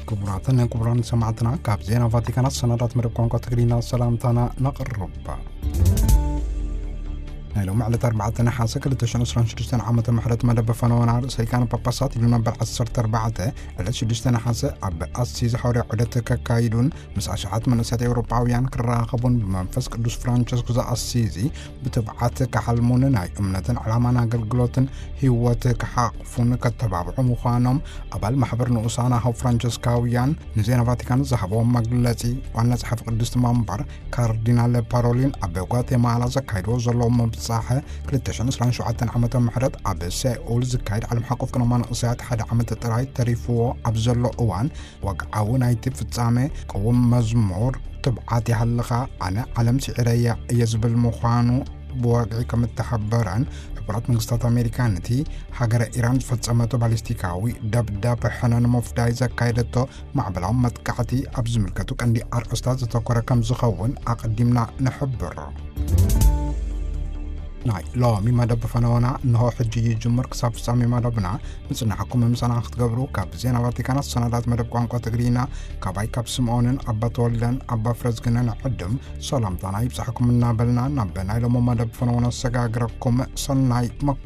ክቡራትን ክቡራን ሰማዕትና፣ ካብ ዜና ቫቲካናት ሰናዳት መደብ ቋንቋ ትግርኛ ሰላምታና ነቕርብ። ናይ ሎም ዕለት ኣርባዕተ ነሓሰ ክልተ ሽሕን ዕስራን ሽዱሽተን ዓመተ ምሕረት መደብ ፈነወና ርእሰ ሊቃነ ጳጳሳት ሉዮን መበል ዓሰርተ ኣርባዕተ ዕለት ሽዱሽተ ነሓሰ ኣብ ኣሲዝ ሓዋርያ ዑደት ከካይዱን ምስ ኣሽሓት መንእሰያት ኤውሮጳውያን ክራኸቡን ብመንፈስ ቅዱስ ፍራንቸስኮ ዘኣሲዚ ብትብዓት ክሓልሙን ናይ እምነትን ዕላማን ኣገልግሎትን ህይወት ክሓቕፉን ከተባብዑ ምዃኖም ኣባል ማሕበር ንኡሳን ኣሃው ፍራንቸስካውያን ንዜና ቫቲካን ዝሃብዎም መግለጺ ዋና ጸሓፊ ቅድስቲ መንበር ካርዲናል ፓሮሊን ኣብ ጓቴማላ ዘካይድዎ ዘለዉ ምብጻሕ ክልተ ሽሕን ዕስራን ሸውዓተን ዓመተ ምሕረት ኣብ ሴኡል ዝካየድ ዓለም ሓቆፍ ቅነማ ንእሰያት ሓደ ዓመት ጥራይ ተሪፍዎ ኣብ ዘሎ እዋን ወግዓዊ ናይቲ ፍጻሜ ቅውም መዝሙር ትብዓት ይሃልኻ ኣነ ዓለም ስዒረያ እየ ዝብል ምዃኑ ብወግዒ ከም እተሓበረን ሕቡራት መንግስታት ኣሜሪካ ነቲ ሃገረ ኢራን ዝፈጸመቶ ባሊስቲካዊ ደብዳብ ሕነ ንምፍዳይ ዘካየደቶ ማዕበላዊ መጥቃዕቲ ኣብ ዝምልከቱ ቀንዲ ኣርእስታት ዘተኮረ ከም ዝኸውን ኣቐዲምና ንሕብር። ናይ ሎሚ መደብ ፈነወና እንሆ ሕጂ ይጅምር። ክሳብ ፍጻሜ መደብና ምጽናሕኩም ምሳና ክትገብሩ ካብ ዜና ቫቲካን ኣሰናዳት መደብ ቋንቋ ትግርኛ ካባይ ካብ ስምዖንን ኣባ ተወልደን ኣባ ፍረዝግነን ዕድም ሰላምታና ይብጻሕኩም እናበልና ናብ ናይ ሎሚ መደብ ፈነወና ኣሰጋግረኩም። ሰናይ መከታተሊ።